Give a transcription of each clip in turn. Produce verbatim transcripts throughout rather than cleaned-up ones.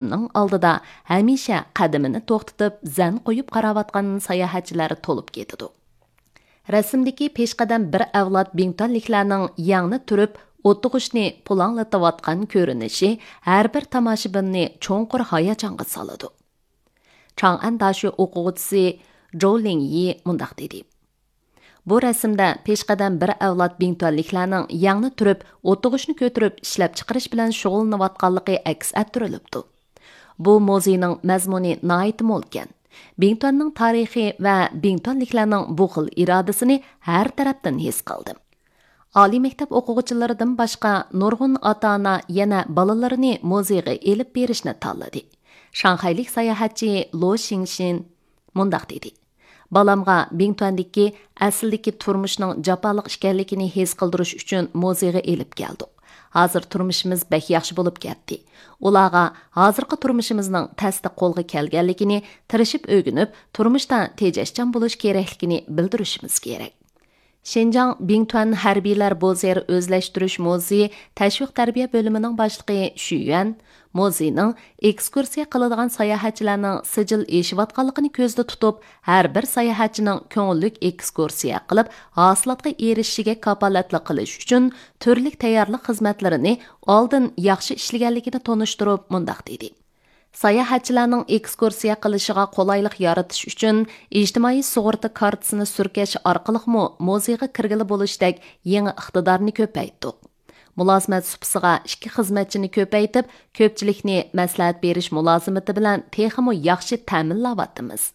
ئالدىدا ھەمىشە قەدىمىنى توختىتىپ، زەن قويۇپ قاراۋاتقان ساياھەتچىلەر تولۇپ كېتىدۇ. رەسىمدىكى پېشقەدەم بىر ئەۋلاد بىڭتۈەنلىكلەرنىڭ يەڭنى تۈرۈپ، ئولتۇرغۇچنى پۇلاڭلىتىۋاتقان كۆرۈنۈشى ھەر بىر تاماشىبىننى چوڭقۇر ھاياجانغا سالىدۇ. چاڭئەن داشۆ ئوقۇغۇچىسى جوۋ لىڭيى مۇنداق دېدى: بۇ رەسىمدە پېشقەدەم بىر ئەۋلاد بىڭتۈەنلىكلەرنىڭ يەڭنى تۈرۈپ، ئولتۇرغۇچنى كۆتۈرۈپ ئىشلەپچىقىرىش بىلەن شۇغۇللىنىۋاتقانلىقى ئەكس ئەتتۈرۈلۈپتۇ. بۇ مۇزېينىڭ مەزمۇنى ناھايىتى مولكەن. بىڭتۈەننىڭ تارىخى ۋە بىڭتۈەنلىكلەرنىڭ بۇ خىل ئىرادىسىنى ھەر تەرەپتىن ھېس قىلدىم. ئالىي مەكتەپ ئوقۇغۇچىلىرىدىن باشقا نۇرغۇن ئاتا-ئانا يەنە بالىلىرىنى مۇزېيغا ئېلىپ بېرىشنى تاللىدى. شاڭخەيلىك ساياھەتچى لو شىڭشىن مۇنداق دېدى: بالامغا بىڭتۈەندىكى ئەسلىدىكى تۇرمۇشنىڭ جاپالىق ئىكەنلىكىنى ھېس قىلدۇرۇش ئۈچۈن مۇزېيغا ئېلىپ كەلدۇق. ھازىر تۇرمۇشىمىز بەك ياخشى بولۇپ كەتتى. ئۇلارغا ھازىرقى تۇرمۇشىمىزنىڭ تەستە قولغا كەلگەنلىكىنى، تىرىشىپ ئۆگىنىپ، تۇرمۇشتا تېجەشچان بولۇش كېرەكلىكىنى بىلدۈرۈشىمىز كېرەك. شىنجاڭ بىڭتۈەن ھەربىيلەر بوزېر ئۆزلەشتۈرۈش مۇزېيى تەشۋىق تەربىيە بۆلۈمىنىڭ باشلىقى شۈ يۈەن مۇزېينىڭ ئېكسكۇرسىيە قىلىدىغان ساياھەتچىلەرنىڭ سىجىل ئېشىۋاتقانلىقىنى كۆزدە تۇتۇپ، ھەر بىر ساياھەتچىنىڭ كۆڭۈللۈك ئېكسكۇرسىيە قىلىپ، ھاسىلاتقا ئېرىشىشىگە كاپالەتلىك قىلىش ئۈچۈن تۈرلۈك تەييارلىق خىزمەتلىرىنى ئالدىن ياخشى ئىشلىگەنلىكىنى تونۇشتۇرۇپ، مۇنداق دېدى: ساياھەتچىلەرنىڭ ئېكسكۇرسىيە قىلىشىغا قولايلىق يارىتىش ئۈچۈن ئىجتىمائىي سۇغۇرتا كارتىسىنى سۈركەش ئارقىلىقمۇ مۇزېيغا كىرگىلى بولۇشتەك يېڭى ئىقتىدارنى كۆپەيتتۇق. مۇلازىمەت سۇپىسىغا ئىككى خىزمەتچىنى كۆپەيتىپ، كۆپچىلىكنى مەسلىھەت بېرىش مۇلازىمىتى بىلەن تېخىمۇ ياخشى تەمىنلەۋاتىمىز.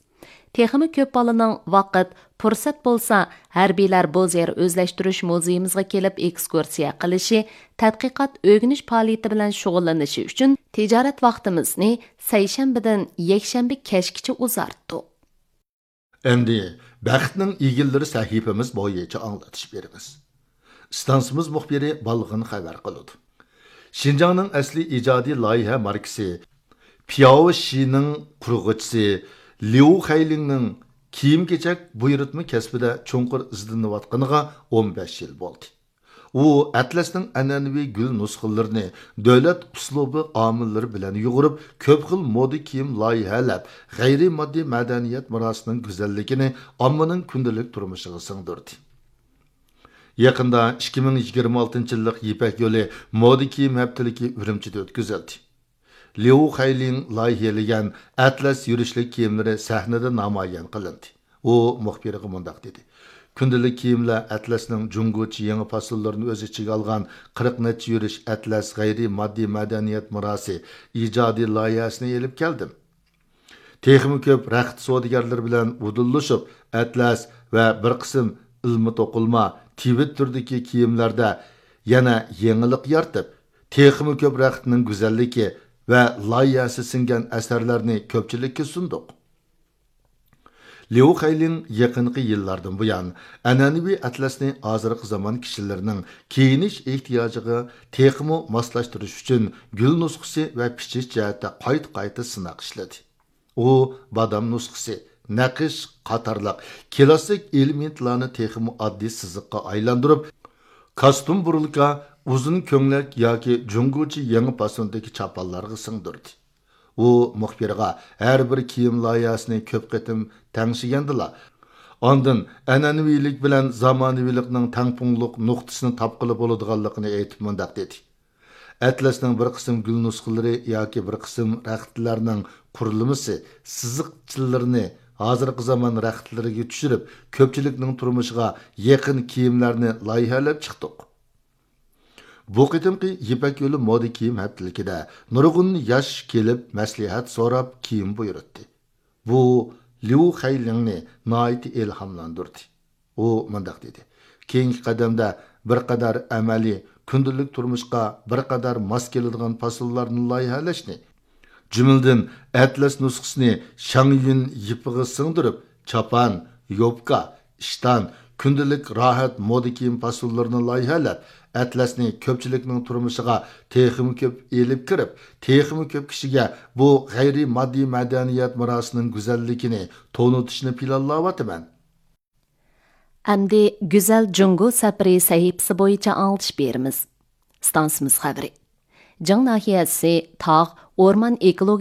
تېخىمۇ كۆپ بالىنىڭ ۋاقىت، پۇرسەت بولسا، ھەربىيلەر بوزېر ئۆزلەشتۈرۈش مۇزېيىمىزغا كېلىپ ئېكسكۇرسىيە قىلىشى، تەتقىقات، ئۆگىنىش پائالىيىتى بىلەن شۇغۇللىنىشى ئۈچۈن تىجارەت ۋاقتىمىزنى سەيشەنبىدىن يەكشەنبە كەچكىچە ئۇزارتتۇق. ئەمدى بەختنىڭ ئىگىلىرى سەھىپىمىز بويىچە ئاڭلىتىش بېرىمىز. ئىستانسىمىز مۇخبىرى بالغىن خەۋەر قىلىدۇ. شىنجاڭنىڭ ئەسلىي ئىجادىي لايىھە ماركىسى پياۋ شىنىڭ قۇرغۇچىسى ليۇ خەيلىڭنىڭ كىيىم-كېچەك بۇيرۇتما كەسپىدە چوڭقۇر ئىزدىنىۋاتقىنىغا ئون بەش يىل بولدى. ئۇ ئەتلەسنىڭ ئەنئەنىۋى گۈل نۇسخىلىرىنى دۆلەت ئۇسلۇبى ئامىللىرى بىلەن يۇغۇرۇپ، كۆپ خىل مودا كىيىم لايىھەلەپ، غەيرىي ماددىي مەدەنىيەت مىراسىنىڭ گۈزەللىكىنى ئاممىنىڭ كۈندىلىك تۇرمۇشىغا سىڭدۈردى. يېقىندا ئىككى مىڭ يىگىرمە ئالتىنچى يىللىق يىپەك يولى مودا كىيىم ھەپتىلىكى ئۈرۈمچىدە ئۆتكۈزۈلدى. ليۇ خەيلىڭ لايىھەلىگەن ئەتلەس يۈرۈشلۈك كىيىملىرى سەھنىدە نامايان قىلىندى. ئۇ مۇخبىرغا مۇنداق دېدى: كۈندىلىك كىيىملەر ئەتلەسنىڭ جۇڭگوچە يېڭى پاسونلىرىنى ئۆز ئىچىگە ئالغان قىرىق نەچچە يۈرۈش ئەتلەس غەيرىي ماددىي مەدەنىيەت مىراسى ئىجادىي لايىھەسىنى ئېلىپ كەلدىم. تېخىمۇ كۆپ رەخت سودىگەرلىرى بىلەن ئۇدۇللىشىپ، ئەتلەس ۋە بىر قىسىم ئىلمىي توقۇلما تىۋىت تۈرىدىكى كىيىملەردە يەنە يېڭىلىق يارىتىپ، تېخىمۇ كۆپ رەختنىڭ گۈزەللىكى ۋە لايىھەسى سىڭگەن ئەسەرلەرنى كۆپچىلىككە سۇندۇق. ليۇ خەيلىڭ يېقىنقى يىللاردىن بۇيان، ئەنئەنىۋى ئەتلەسنى ھازىرقى زامان كىشىلىرىنىڭ كىيىنىش ئېھتىياجىغا تېخىمۇ ماسلاشتۇرۇش ئۈچۈن گۈل نۇسخىسى ۋە پىچىش جەھەتتە قايتا-قايتا سىناق ئىشلىدى. ئۇ بادام نۇسخىسى، نەقىش قاتارلىق كلاسسىك ئېلېمېنتلارنى تېخىمۇ ئاددىي سىزىققا ئايلاندۇرۇپ، كاستۇم بۇرۇلكا، ئۇزۇن كۆڭلەك ياكى جۇڭگوچە يېڭى پاسوندىكى چاپانلارغا سىڭدۈردى. ئۇ مۇخبىرغا ھەر بىر كىيىم لايىھەسىنى كۆپ قېتىم تەڭشىگەندىلا، ئاندىن ئەنئەنىۋىلىك بىلەن زامانىۋىلىقنىڭ تەڭپۇڭلۇق نۇقتىسىنى تاپقىلى بولىدىغانلىقىنى ئېيتىپ مۇنداق دېدى: ئەتلەسنىڭ بىر قىسىم گۈل نۇسخىلىرى ياكى بىر قىسىم رەختلەرنىڭ قۇرۇلمىسى، سىزىقچىلىرىنى ھازىرقى زامان رەختلىرىگە چۈشۈرۈپ، كۆپچىلىكنىڭ تۇرمۇشىغا يېقىن كىيىملەرنى لايىھەلەپ چىقتۇق. بۇ قېتىمقى يىپەك يولى مودا كىيىم ھەپتىلىكىدە نۇرغۇن ياش كېلىپ، مەسلىھەت سوراپ، كىيىم بۇيرۇتتى. بۇ ليۇ خەيلىڭنى ناھايىتى ئىلھاملاندۇردى. ئۇ مۇنداق دېدى: كېيىنكى قەدەمدە بىر قەدەر ئەمەلىي، كۈندىلىك تۇرمۇشقا بىر قەدەر ماس كېلىدىغان پاسونلارنى لايىھەلەشنى، جۈملىدىن ئەتلەس نۇسخىسىنى شاڭيۈن يىپىغا سىڭدۈرۈپ، چاپان، يوپكا، ئىشتان، كۈندىلىك راھەت مودا كىيىم پاسونلىرىنى لايىھەلەپ، ئەتلەسنى كۆپچىلىكنىڭ تۇرمۇشىغا تېخىمۇ كۆپ ئېلىپ كىرىپ، تېخىمۇ كۆپ كىشىگە بۇ غەيرىي ماددىي مەدەنىيەت مىراسىنىڭ گۈزەللىكىنى تونۇتۇشنى پىلانلاۋاتىمەن. ئەمدى گۈزەل جۇڭگو سەپىرى سەھىپىسى بويىچە ئاڭلىتىش بېرىمىز. ئىستانسىمىز خەۋىرى. جىڭ ناھىيەسى تاغ ئورمان ئېكولوگىيە